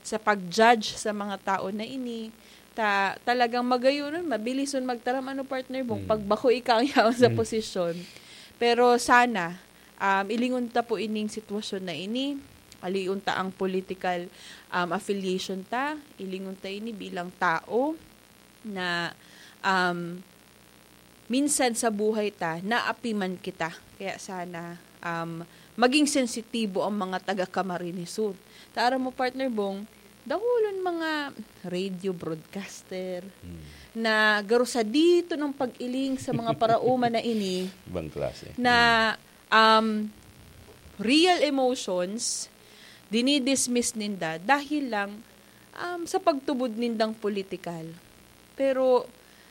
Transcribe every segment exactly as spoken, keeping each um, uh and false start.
sa pag-judge sa mga tao na ini, ta-, talagang magayonon, mabilison magtaram, ano, partner Bong, Mm. pag bako ika ang yaon sa Mm. posisyon. Pero sana, um, ilingon ta po ining sitwasyon na ini, alion ta ang political, um, affiliation ta, ilingon ta ini bilang tao na, um, minsan sa buhay ta, naapi man kita. Kaya sana, um, maging sensitibo ang mga taga Camarines Sur. Ta aram mo, partner Bong, dakulon mga radio broadcaster Hmm. na garo sa dito ng pag-iling sa mga paraoma na ini Ibang klase. na, um, real emotions, dinidismiss ninda dahil lang, um, sa pagtubod nindang politikal. Pero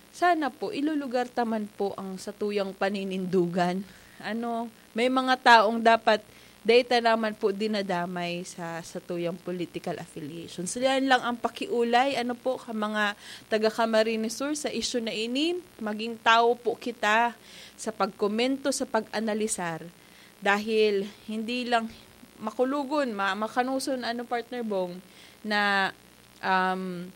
sana po, ilulugar ta man po ang satuyang paninindugan. Ano, may mga taong dapat dai ta naman po dinadamay sa satuyang political affiliations. Yan lang ang pakiulay, ano po, ka mga taga Camarines Sur sa isyu na ini. Maging tao po kita sa pagkomento, sa pag-analisar. Dahil hindi lang makulogon, ma-, makanuson, ano, partner Bong, na, um,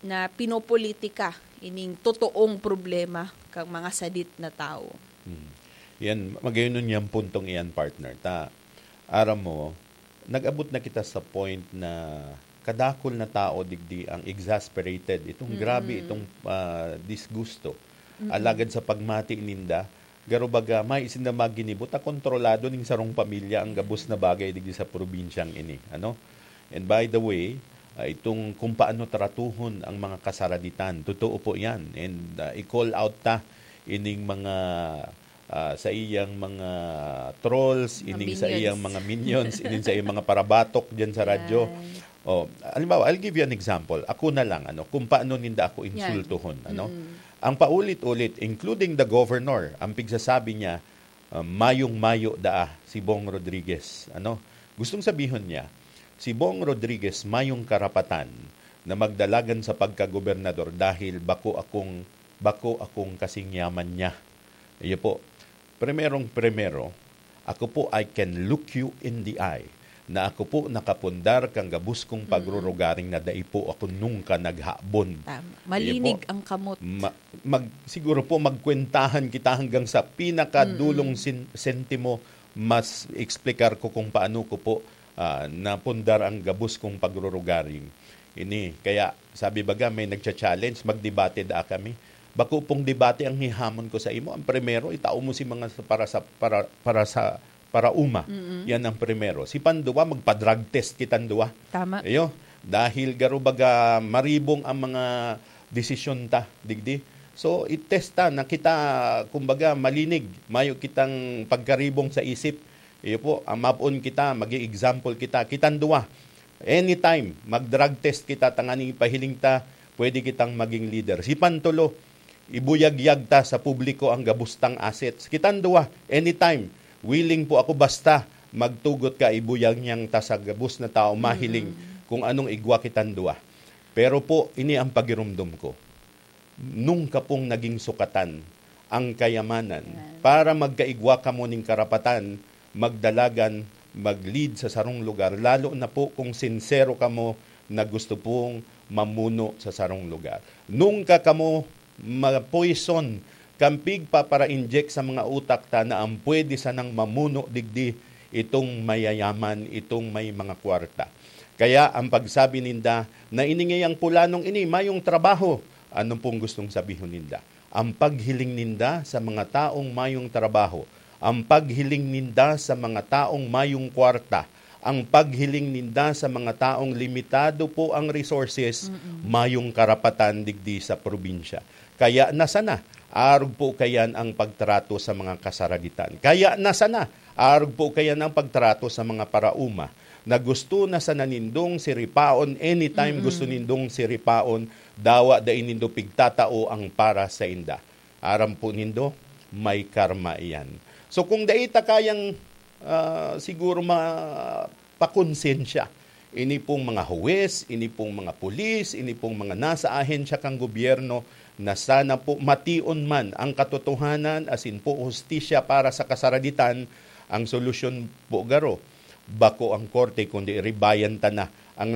na pinopolitika ining totoong problema kang mga sadit na tawo. Hmm. Yan, magayon yan puntong iyan, partner. Ta, aram mo, nag-abot na kita sa point na kadakol na tao digdi ang exasperated. Itong Mm. grabe, itong, ah, disgusto. Mm. Alagad sa pagmati ninda, garo baga, may sinda maginibo, ta kontrolado ning sarong pamilya ang gabos na bagay digdi sa probinsyang ini. Ano? And by the way, ah, itong kung paano tratuhon ang mga kasaraditan, totoo po yan. And, ah, i-call out ta ining mga, ah, sa iyang mga trolls, Mga ining sa iyang minions. mga minions, ining sa iyang mga parabatok dyan sa radyo. Yan. Oh, halimbawa, I'll give you an example. Ako na lang, ano, kung paano ninda ako Yan. insultuhon, ano? Mm. Ang paulit-ulit, including the governor, ang pigsasabi niya, ah, "Mayong-mayo daa si Bong Rodriguez." Ano? Gustong sabihon niya, si Bong Rodriguez mayong karapatan na magdalagan sa pagkagobernador dahil bako akong, bako akong kasing yaman niya. Iyo po. Primerong primero, ako po, I can look you in the eye na ako po nakapundar kan gabos kong Mm. pagrurugaring na dai po ako nungka naghabon. Tama. Iyo Malinig po. ang kamot. Ma-, mag-, siguro po magkwentahan kita hanggang sa pinakadulong Mm. sin-, sentimo, mas explicar ko kung paano ko po, ah, napundar ang gabos kong pagrurugaring. Ini, kaya sabi baga, may nagcha-challenge, magdebate daa kami. Bako pong debate ang hihamon ko sa imo. Ang primero, itao mo si mga sa, para sa, para, para sa, para uma. Mm-mm. Yan ang primero. Si panduwa, magpa-drug test kitang duwa. Tama. Iyo, dahil garo baga maribong ang mga desisyon ta, digdi. So, i-test ta na kita, kumbaga, malinig, mayo kitang pagkaribong sa isip. Iyo po, ang mapon kita, maging example kita. Kitang duwa, anytime, mag-drug test kita, tanganing ipahiling ta, pwede kitang maging leader. Si pantulo, ibuyagyag ta sa publiko ang gabos tang assets. Kitang duwa, anytime, willing po ako basta magtugot ka, ibuyag niyang ta sa gabos na tao mahiling Mm. kung anong igwa kitang duwa. Pero po, ini ang pagirumdom ko. Nungka pong naging sukatan ang kayamanan Amen. para magkaigwa kamo ning karapatan, magdalagan, mag-lead sa sarong lugar, lalo na po kung sinsero kamo na gusto pong mamuno sa sarong lugar. Nungka kamo mapoison kan pigpapara-inject sa mga utak ta na ang pwede sanang mamuno digdi itong mayayaman, itong may mga kwarta. Kaya ang pagsabi ninda na ini ngayang pulanong ini mayong trabaho, ano pong gustong sabihon ninda? Ang paghiling ninda sa mga taong mayong trabaho, ang paghiling ninda sa mga taong mayong kwarta, ang paghiling ninda sa mga taong limitado po ang resources, Mm-mm. mayong karapatan digdi sa probinsya. Kaya na sana, arog po kayan ang pagtrato sa mga kasaraditan. Kaya na sana, arog po kayan ang pagtrato sa mga parauma na gusto na sana nindong siripaon, anytime Mm-mm. gusto nindong siripaon, dawa dai nindo pigtatao ang para sa inda. Aram po nindo, may karma iyan. So, kung dai ta kayang, ah, siguro mapakonsensya, ini pong mga huwes, ini pong mga pulis, ini pong mga nasa ahensya kan gobyerno, na sana po mation man ang katotohanan asin po hustisya para sa kasaraditan, ang solusyon po garo, bako ang korte, kundi ribayan ta na ang